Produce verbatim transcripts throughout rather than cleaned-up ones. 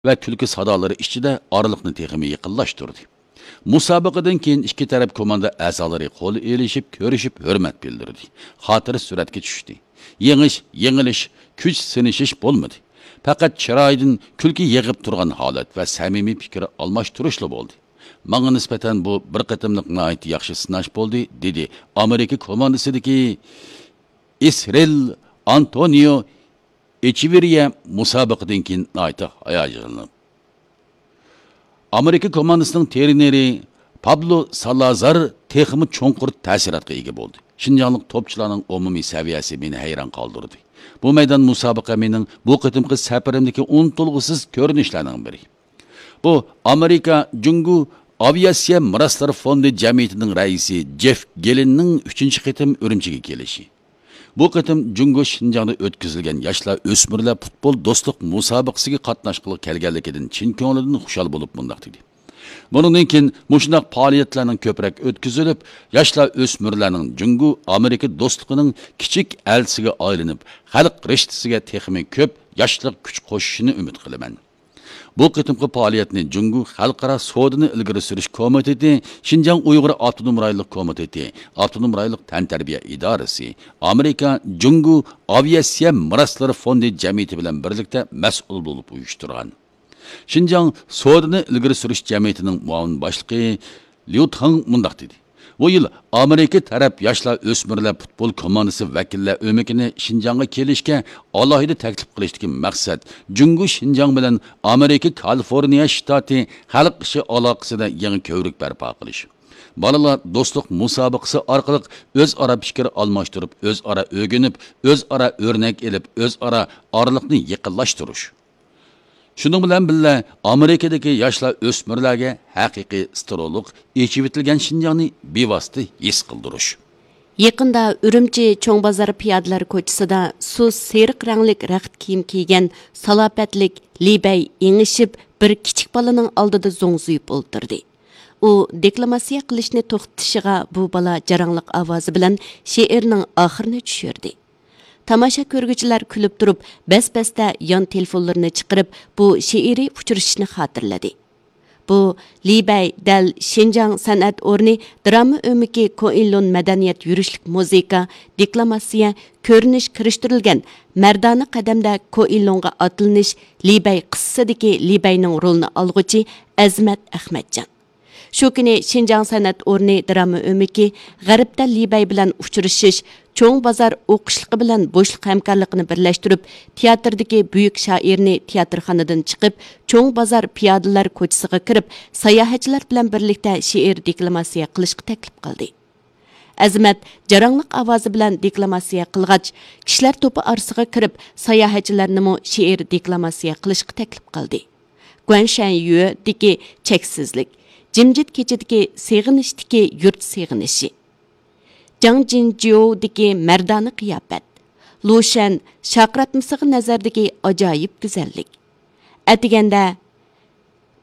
ۋە كۈلكە سادالىرى ئىچىدە ئارىلىقنى تېخىمۇ يېقىنلاشتۇردى. مۇسابىقىدىن كېيىن ئىككى تەرەپ كوماندا ئەزالىرى قول ئېلىشىپ، كۆرۈشۈپ، ھۆرمەت بىلدۈردى. خاتىرە سۈرەتكە چۈشتى. يېڭىش، يېڭىلىش، كۈچ سىنىشىش بولمىدى. پەقەت چىرايىدىن كۈلكە يېغىپ تۇرغان ھالەت ۋە سەمىمىي پىكىر ئالماشتۇرۇشلا بولدى. ماڭا نىسبەتەن بۇ بىر قېتىملىق ناھايىتى ياخشى سىناش بولدى، دېدى ئامېرىكا كوماندىسىدىكى ئىسرېل ئانتونىيو ئېچېۋېرىيە مۇسابىقىدىن كېيىن ناھايىتى ھاياجانلىنىپ. ئامېرىكا كوماندىسىنىڭ ترېنېرى پابلو سالازار تېخىمۇ چوڭقۇر تەسىراتقا ئىگە بولدى. شىنجاڭلىق توپچىلارنىڭ ئومۇمىي سەۋىيەسى مېنى ھەيران قالدۇردى. بۇ مەيدان مۇسابىقە مېنىڭ بۇ قېتىمقى سەپىرىمدىكى ئۇنتۇلغۇسىز كۆرۈنۈشلەرنىڭ بىرى. بۇ ئامېرىكا جۇڭگو ئاۋىئاتسىيە مىراسلىرى فوندى جەمئىيىتىنىڭ رەئىسى جېف گېلىننىڭ ئۈچىنچى قېتىم ئۈرۈمچىگە كېلىشى. بۇ قېتىم جۇڭگو شىنجاڭدا ئۆتكۈزۈلگەن ياشلار ئۆسمۈرلەر پۇتبول دوستلۇق مۇسابىقىسىگە قاتناشقىلى كەلگەنلىكىدىن چىن كۆڭلىدىن خۇشال بولۇپ مۇنداق دېدى: بۇنىڭدىن كېيىن مۇشۇنداق پائالىيەتلەرنىڭ كۆپرەك ئۆتكۈزۈلۈپ، ياشلار ئۆسمۈرلەرنىڭ جۇڭگو ئامېرىكا دوستلۇقىنىڭ كىچىك ئەلچىسىگە ئايلىنىپ، خەلق رىشتىسىگە تېخىمۇ كۆپ ياشلىق كۈچ قوشۇشىنى ئۈمىد قىلىمەن. بۇ قېتىمقى پائالىيەتنى جۇڭگو خەلقئارا سودىنى ئىلگىرى سۈرۈش كومىتېتى، شىنجاڭ ئۇيغۇر ئاپتونوم رايونلۇق كومىتېتى، ئاپتونوم رايونلۇق تەنتەربىيە ئىدارىسى، ئامېرىكا جۇڭگو ئاۋىئاتسىيە مىراسلىرى فوندى جەمئىيىتى بىلەن بىرلىكتە مەسئۇل بولۇپ ئۇيۇشتۇرغان. شىنجاڭ سودىنى ئىلگىرى سۈرۈش جەمئىيىتىنىڭ مۇئاۋىن باشلىقى ليۇ تاڭ مۇنداق دېدى: بۇ يىل ئامېرىكا تەرەپ ياشلار ئۆسمۈرلەر پۇتبول كوماندىسى ۋەكىللەر ئۆمىكىنى شىنجاڭغا كېلىشكە ئالاھىدە تەكلىپ قىلىشتىكى مەقسەت جۇڭگو شىنجاڭ بىلەن ئامېرىكا كالىفورنىيە شتاتى خەلق ئىشى ئالاقىسىدا يېڭى كۆۋرۈك بەرپا قىلىش. بالىلار دوستلۇق مۇسابىقىسى ئارقىلىق ئۆزئارا پىكىر ئالماشتۇرۇپ، ئۆزئارا ئۆگىنىپ، ئۆزئارا ئۆرنەك ئېلىپ، ئۆزئارا ئارىلىقنى يېقىنلاشتۇرۇش. شۇنىڭ بىلەن بىللە، ئامېرىكىدىكى ياشلار ئۆسمۈرلەرگە ھەقىقىي ستېرېئولۇق ئېچىۋېتىلگەن شىنجاڭنى بىۋاسىتە ھېس قىلدۇرۇش. يېقىندا ئۈرۈمچى چوڭ بازار پىيادىلەر كوچىسىدا سۇس سېرىق رەڭلىك رەخت كىيىم كىيگەن سالاپەتلىك لى بەي ئېڭىشىپ، بىر كىچىك بالىنىڭ ئالدىدا زوڭزىيىپ ئولتۇردى. ئۇ دېكلاماتسىيە قىلىشنى توختىتىشىغا بۇ بالا جاراڭلىق ئاۋازى بىلەن شېئىرنىڭ ئاخىرىنى چۈشۈردى. تاماشا كۆرگۈچىلەر كۈلۈپ تۇرۇپ، بەس-بەستە يان تېلېفونلىرىنى چىقىرىپ، بۇ شېئىرىي ئۇچرىشىشنى خاتىرىلىدى. بۇ لى بەي دەل شىنجاڭ سەنئەت ئورنى دىراما ئۆمىكى كوئىنلۇن مەدەنىيەت يۈرۈشلۈك مۇزىكا، دېكلاماتسىيە، كۆرۈنۈش كىرىشتۈرۈلگەن مەردانە قەدەمدە كوئىنلۇنغا ئاتلىنىش لى بەي قىسسىسىدىكى لى بەينىڭ رولىنى ئالغۇچى ئەزىمەت ئەخمەتجان. شۇ كۈنى شىنجاڭ سەنئەت ئورنى دىراما ئۆمىكى غەربتە لى بەي بىلەن ئۇچرىشىش، چوڭ بازار ئوقۇشلۇقى بىلەن بوشلۇق ھەمكارلىقىنى بىرلەشتۈرۈپ، تىياتىردىكى بۈيۈك شائىرنى تىياتىرخانىدىن چىقىپ، چوڭ بازار پىيادىلەر كوچىسىغا كىرىپ، ساياھەتچىلەر بىلەن بىرلىكتە شېئىر دېكلاماتسىيە قىلىشقا تەكلىپ قىلدى. ئەزىمەت جاراڭلىق ئاۋازى بىلەن دېكلاماتسىيە قىلغاچ، كىشىلەر توپى ئارىسىغا كىرىپ، ساياھەتچىلەرنىمۇ شېئىر دېكلاماتسىيە قىلىشقا تەكلىپ قىلدى. گۇەنشەنيۈدىكى چەكسىزلىك، جىمجىت كېچىدىكى سېغىنىشتىكى يۇرت سېغىنىشى، جاڭجىنجيۇدىكى مەردانە قىياپەت، لۇشەن شارقىراتمىسىغا نەزەردىكى ئاجايىپ گۈزەللىك، ئەتىگەندە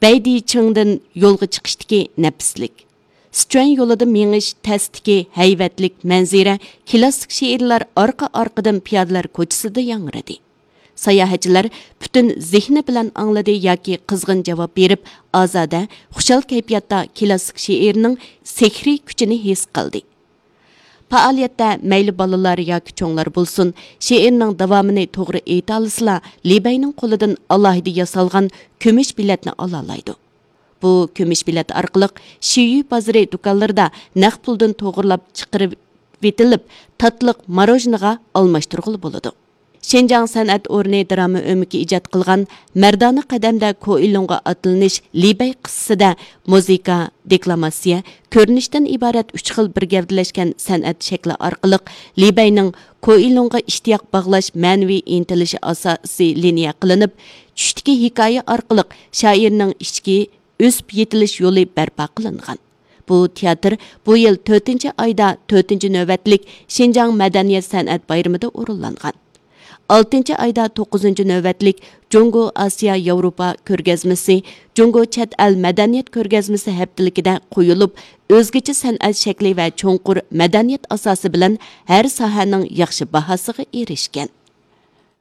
بەيدىچىڭدىن يولغا چىقىشتىكى نەپىسلىك، سىچۈەن يولىدا مېڭىش تەستىكى ھەيۋەتلىك مەنزىرە كىلاسسىك شېئىرلار ئارقا-ئارقىدىن پىيادىلەر كوچىسىدا ياڭرىدى. ساياھەتچىلەر پۈتۈن زېھنى بىلەن ئاڭلىدى ياكى قىزغىن جاۋاب بېرىپ، ئازادە، خۇشال كەيپىياتتا كىلاسسىك شېئىرنىڭ سېھرىي كۈچىنى ھېس قىلدى. پائالىيەتتە مەيلى بالىلار ياكى چوڭلار بولسۇن، شېئىرنىڭ داۋامىنى توغرا ئېيتالىسىلا، لى بەينىڭ قولىدىن ئالاھىدە ياسالغان كۈمۈش بېلەتنى ئالالايدۇ. بۇ كۈمۈش بېلەت ئارقىلىق شىيۈ بازىرى دۇكانلىرىدا نەق پۇلدىن توغرىلاپ چىقىرىۋېتىلىپ، تاتلىق ماروژنىغا ئالماشتۇرغىلى بولىدۇ. شىنجاڭ سەنئەت ئورنى دىراما ئۆمىكى ئىجاد قىلغان مەردانە قەدەمدە كوئىلۇڭغا ئاتلىنىش لى بەي قىسسىسىدە مۇزىكا، دېكلاماتسىيە، كۆرۈنۈشتىن ئىبارەت ئۈچ خىل بىر گەۋدىلەشكەن سەنئەت شەكلى ئارقىلىق لى بەينىڭ كوئىلۇڭغا ئىشتىياق باغلاش مەنىۋى ئىنتىلىشى ئاساسىي لىنىيە قىلىنىپ، چۈشتىكى ھېكايە ئارقىلىق شائىرنىڭ ئىچكى ئۆسۈپ يېتىلىش يولى بەرپا قىلىنغان. بۇ تىياتىر بۇ يىل تۆتىنچى ئايدا تۆتىنچى نۆۋەتلىك شىنجاڭ مەدەنىيەت سەنئەت بايرىمىدا ئورۇنلانغان. ئالتىنچى ئايدا توققۇزىنچى نۆۋەتلىك جۇڭگو ئاسىيا ياۋروپا كۆرگەزمىسى، جۇڭگو چەت ئەل مەدەنىيەت كۆرگەزمىسى ھەپتىلىكىدە قويۇلۇپ، ئۆزگىچە سەنئەت شەكلى ۋە چوڭقۇر مەدەنىيەت ئاساسى بىلەن ھەر ساھەنىڭ ياخشى باھاسىغا ئېرىشكەن.